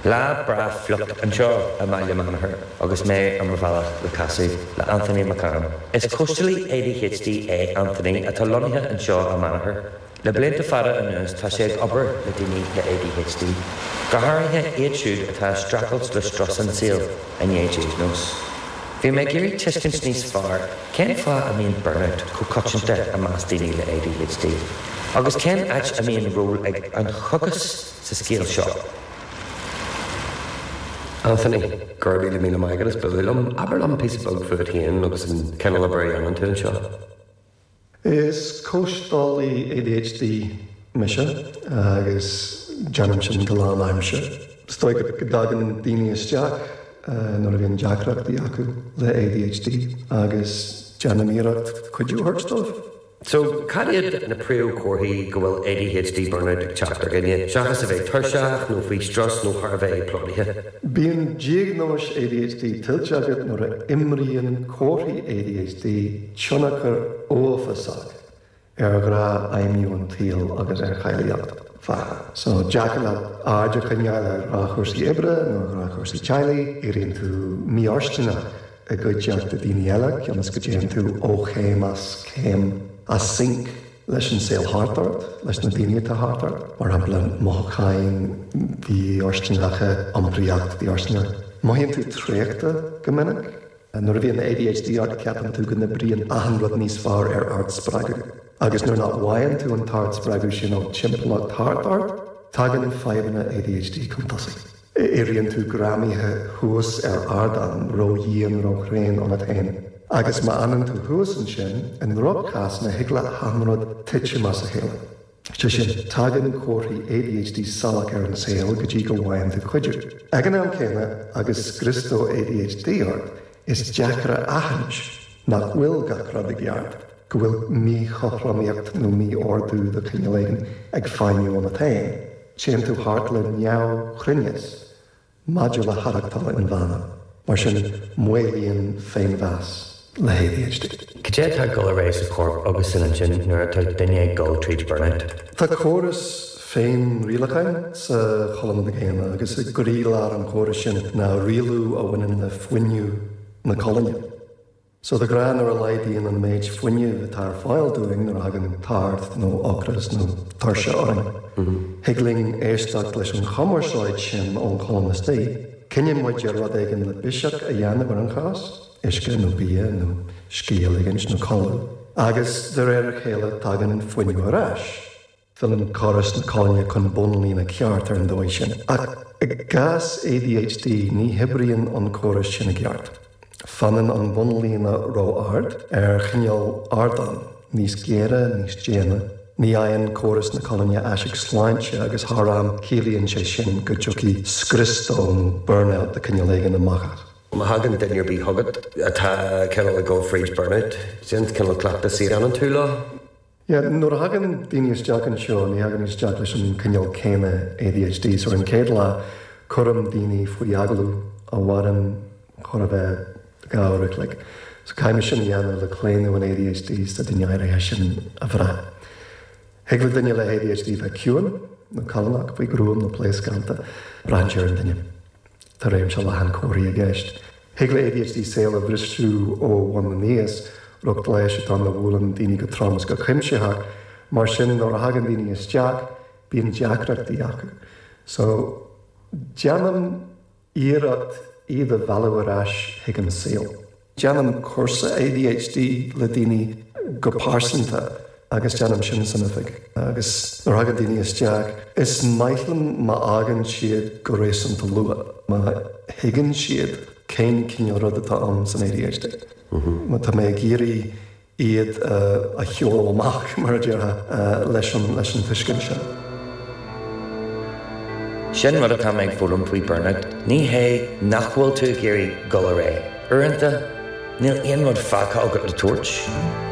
Lá breá fliuch anseo i mBaile Mhanachair agus mé ar mo bhealach le casadh le Anthony McCann. Is cóisteálaí ADHD é Anthony atá lonnaithe anseo i Manachar. Le blianta fada anuas tá sé ag obair le daoine le ADHD, go háirithe iad siúd atá ag streachailt le strus an tsaoil i ndiaidh diagnóis. Bhí mé ag iarraidh tuiscint níos fearr cén fáth a mbíonn burnout chomh coitianta i measc daoine le ADHD, agus cén áit a mbíonn ról ag an chocas sa scéal seo. Anthony, Go raibh míle míle maith agat, is bualadh liom. Abair liom píosa beag fút féin agus an cineál obair a dhéanann tú anseo. Is cóisteálaí ADHD mise agus déanaim sin go lánaimseartha. Is dóigh go dtagann daoine isteach nuair a bhíonn deacrachtaí acu le ADHD agus déanaim iarracht cuidiú a thabhairt dóibh. So, cad iad na príomhchomharthaí go bhfuil ADHD burnout ag teacht ar dhuine, seachas a bheith tuirseach nó faoi strus nó thar a bheith plódaithe? Bíonn diagnóis ADHD tuillte agat nuair a imríonn comharthaí ADHD tionchar uafásach ar ghnáthfheidhmiú an tsaoil agus ar cháilíocht bheatha. So, deacair leat aird a choinneáil ar ghnáthchúrsaí oibre nó ar ghnáthchúrsaí teaghlaigh, éiríonn tú mífhóirsteanach i gcuideachta daoine eile cionn is go dtéann tú ó chéim as céim as sync. leis an saol thart ort, leis na daoine atá thart ort, mar shampla mothúcháin mhífhóirsteanacha, iompraíocht mhífhóirsteanach. Mothaíonn tú traochta go minic. Nuair a bhíonn ADHD ort ceapann tú go n-oibríonn achan rud níos fearr ar ardspreagadh. Agus nuair nach bhfaigheann tú an t-ardspreagadh sin ón timpeallacht thart ort, tagann fadhbanna ADHD chun tosaigh. Éiríonn tú greamaithe thuas ar ardán, ródhian, róthréan ionat féin. Agus má fhanann tú thuas ansin, i ndroch-chásanna thig le hachan rud titim as a chéile. Sé sin, tagann comharthaí ADHD salach ar an saol go dtí go bhfaigheann tú cuidiú. Ag an am céanna, agus scrios dó ADHD ort, is deacair a aithint nach bhfuil gach rud i gceart, go bhfuil míchothromaíocht nó mí-ordú de chineál éigin ag feidhmiú ionat féin. Téann tú thart le neamhchruinneas maidir le haireachtáil inmheánach, mar sin maolaíonn féinmheas le hADHD. Cad é atá ag dul ar aghaidh sa chorp agus san intinn nuair atá duine ag dul tríd burnout? Tá córas féinrialacháin sa cholainn dhaonna agus i gcroílár an chórais sin ná rialú a bhaineann le fuinneamh na colainne. So de ghnáth nuair a laghdaíonn an méid fuinnimh atá ar fáil dúinn nuair a thagann tart nó ocras nó tuirse orainn, thig linn éisteacht leis an chumarsáid sin ón cholainn istigh. Cinneann muid ar rud éigin le biseach a dhéanamh ar an chás, uisce nó bia nó scíth a ligint nó codladh, agus de réir a chéile tagann fuinneamh ar ais. Filleann córas na colainne chun bonnlíne ceart ar an dóigh sin. Ach i gcás ADHD ní hoibríonn an córas sin i gceart. Fanann an bonnlíne ró-ard, ar chineál ardán, níos géire, níos déine. Ní fhaigheann córas na colainne aiseag sláinte agus thar am ciallaíonn sé sin go dtiocfaidh scrios dó nó burnout de chineál éigin amach as. Má thagann duine ar bith chugat atá cineál ag dul fríd burnout, cén cineál cleachtas a dhéanann tú leo? Yeah, nuair a thagann daoine isteach anseo, ní thagann isteach leis an cineál céanna ADHD. So ar an chéad lá, cuirim daoine faoi agallamh a mhaireann chóir a bheith 2 uair a chloig. So caithfidh mé sin a dhéanamh le claonadh an ADHD sa duine áirithe sin a bhrath. Thig le duine le ADHD bheith ciúin nó callánach, faoi ghruaim nó pléascánta, braitheann sé ar an duine. Tá réimse leathan comharthaí i gceist. Thig le ADHD saol a bhriseadh ó bhun aníos, riocht leighis atá ann a bhuaileann daoine go trom is go cuimsitheach. Mar sin, nuair a thagann daoine isteach, bíonn deacrachtaí acu. So, déanaim iarracht iad a mhealladh ar ais chuig an saol. Déanaim cúrsa ADHD le daoine go pearsanta agus déanaim sin san oifig. Agus nuair a thagann daoine isteach, is maith liom má fhágann siad go réasúnta luath, má thuigeann siad cén cineál rud atá ann san ADHD. Má tá mé ag iarraidh iad a sheoladh amach, mar a déarfá, leis an leis an tuiscint sin. Sin rud atá mé ag foghlaim faoi burnout, ní hé nach bhfuil tú ag iarraidh dul ar aghaidh. Uaireanta, níl aon rud fágtha agat le tabhairt.